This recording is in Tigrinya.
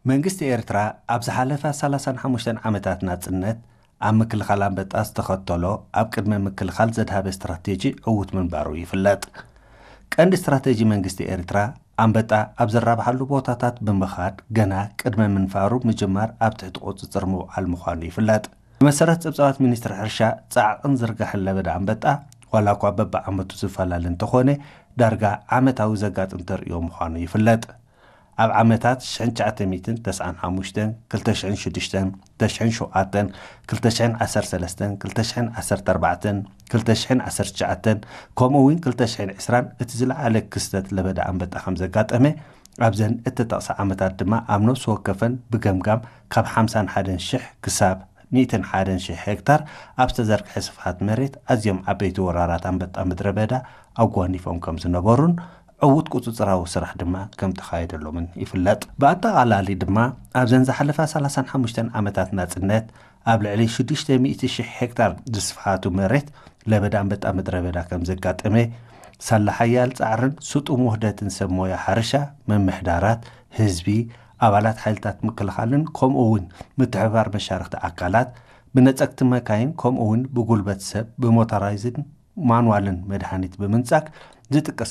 መንግስቲ ኤርትራ ኣብ ዝሓለፈ ሰላሳን ሓሙሽተን ዓመታት ናጽነት ኣብ ምክልኻል ኣንበጣ ዝተኸተሎ ኣብ ቅድመ ምክልኻል ዘድሃበ ስትራቴጂ ዕዉት ምንባሩ ይፍለጥ። ቀንዲ ስትራቴጂ መንግስቲ ኤርትራ ኣንበጣ ኣብ ዝራብሓሉ ቦታታት ብምኻድ ገና ቅድመ ምንፋሩ ምጅማር ኣብ ትሕቲ ቁጽጽር ምውዓል ምዃኑ ይፍለጥ። ብመሰረት ጸብጻባት ሚኒስትሪ ሕርሻ፣ ጻዕቕን ዝርጋሕን ለበዳ ኣንበጣ ዋላ እኳ በብዓመቱ ዝፈላለ እንተኾነ ዳርጋ ዓመታዊ ዘጋጥም ተርእዮ ምዃኑ ይፍለጥ። ኣብ ዓመታት ሽሕን ትሽዓተ ሚእትን ተስዓን ሓሙሽተን፣ ክልተ ሽሕን ሽዱሽተን፣ ክልተ ሽሕን ሸውዓተን፣ ክልተ ሽሕን ዓሰርተ ሰለስተን፣ ክልተ ሽሕን ዓሰርተ ኣርባዕተን፣ ክልተ ሽሕን ዓሰርተ ትሽዓተን፣ ከምኡ እውን ክልተ ሽሕን ዕስራን እቲ ዝለዓለ ክስተት ለበዳ ኣንበጣ ከም ዘጋጠመ ኣብዘን እተጠቕሳ ዓመታት ድማ ኣብ ነፍሲ ወከፈን ብገምጋም ካብ ሓምሳን ሓደን ሽሕ ክሳብ ሚእትን ሓደን ሽሕ ሄክታር ኣብ ዝተዘርግሐ ስፍሓት መሬት ኣዝዮም ዓበይቲ ወራራት ኣንበጣ ምድረ በዳ ኣጓኒፎም ከም ዝነበሩን ዕዉት ቁጽጽራዊ ስራሕ ድማ ከም ተኻየደሎምን ይፍለጥ። ብኣጠቓላሊ ድማ ኣብዘን ዝሓለፋ ሰላሳን ሓሙሽተን ዓመታት ናጽነት ኣብ ልዕሊ ሽዱሽተ ሚእቲ ሽሕ ሄክታር ዝስፍሓቱ መሬት ለበዳ ኣንበጣ ምድረ በዳ ከም ዘጋጠመ፣ ሳላ ሓያል ጻዕርን ስጡም ውህደትን ሰብ ሞያ ሕርሻ፣ ምምሕዳራት፣ ህዝቢ፣ ኣባላት ሓይልታት ምክልኻልን ከምኡ እውን ምትሕብባር መሻርኽቲ ኣካላት ብነጸግቲ መካይን ከምኡ እውን ብጉልበት ሰብ ብሞተራይዝን ማንዋልን መድሃኒት ብምንጻግ ዝጥቀስ